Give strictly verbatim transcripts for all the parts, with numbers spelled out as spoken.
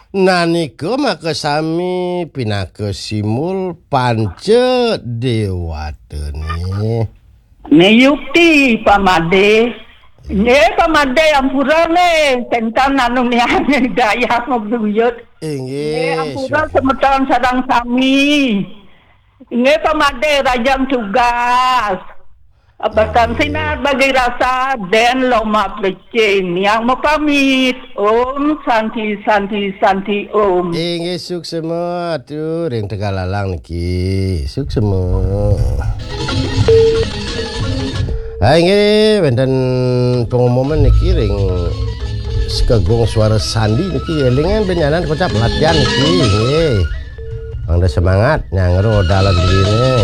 Nanika makasami pinaka simul panca dewatane. Niyukti pamade. Nggih, pamade ampura nggih, ten anu miyangne daya mabuyut. Inggih, nggih, ampura syukur. Semeton sareng sami. Nggih, pamade rajang tugas. Abatan, inggih, sinar bagi rasa den loma plecing yang mapamit. Om Santi, Santi, Santi, Om. Inggih, suksema atu ring Tegalalang niki. Suksema. Ha, inggih, wenten pengumuman niki ring Sekegung Suara Sandi niki, elingan benyanan kocap latihan niki, inggih. Mangda semangat nyangro dalan dine.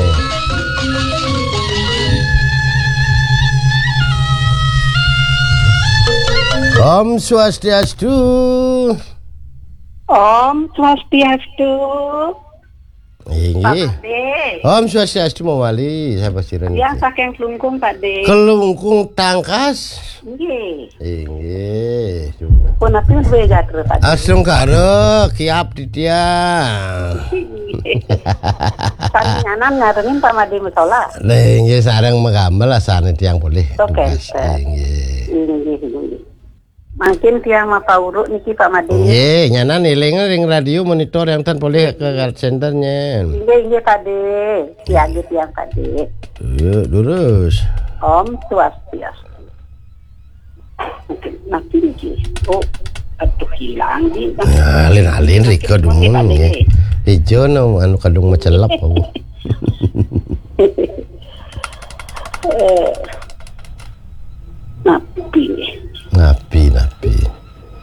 Om Swastiastu. Om Swastiastu. Inggih. Pak Made. Om Swastiastu mawali, sapa sira niki? Tiang saking Klungkung, Pak De. Klungkung Tangkas. Nggih. Inggih. Punapi duwe gatra, Pak De? Astungkara, kiap titiang. Sami nyanan ngarengin Pak Made Musola. Nah, inggih, sareng magamel asane tiang polih. Oke, Tangkas. Oke. Inggih. Inggih, inggih. Mangkin tiang mapauruk niki, Pak Made. Nggih, nyanan eling ring radio monitor yang ten polih ke call center nyen. Inggih, inggih, Pak De. Siaga tiang, Pak De. Yuk, durus. Om Swastiastu. Mungkin nanti niki. Oh, aduh, hilang di. Nah, alin-alin rika dumun, Pak De, nggih. Ijo no anu kadung macelep aku. Eh,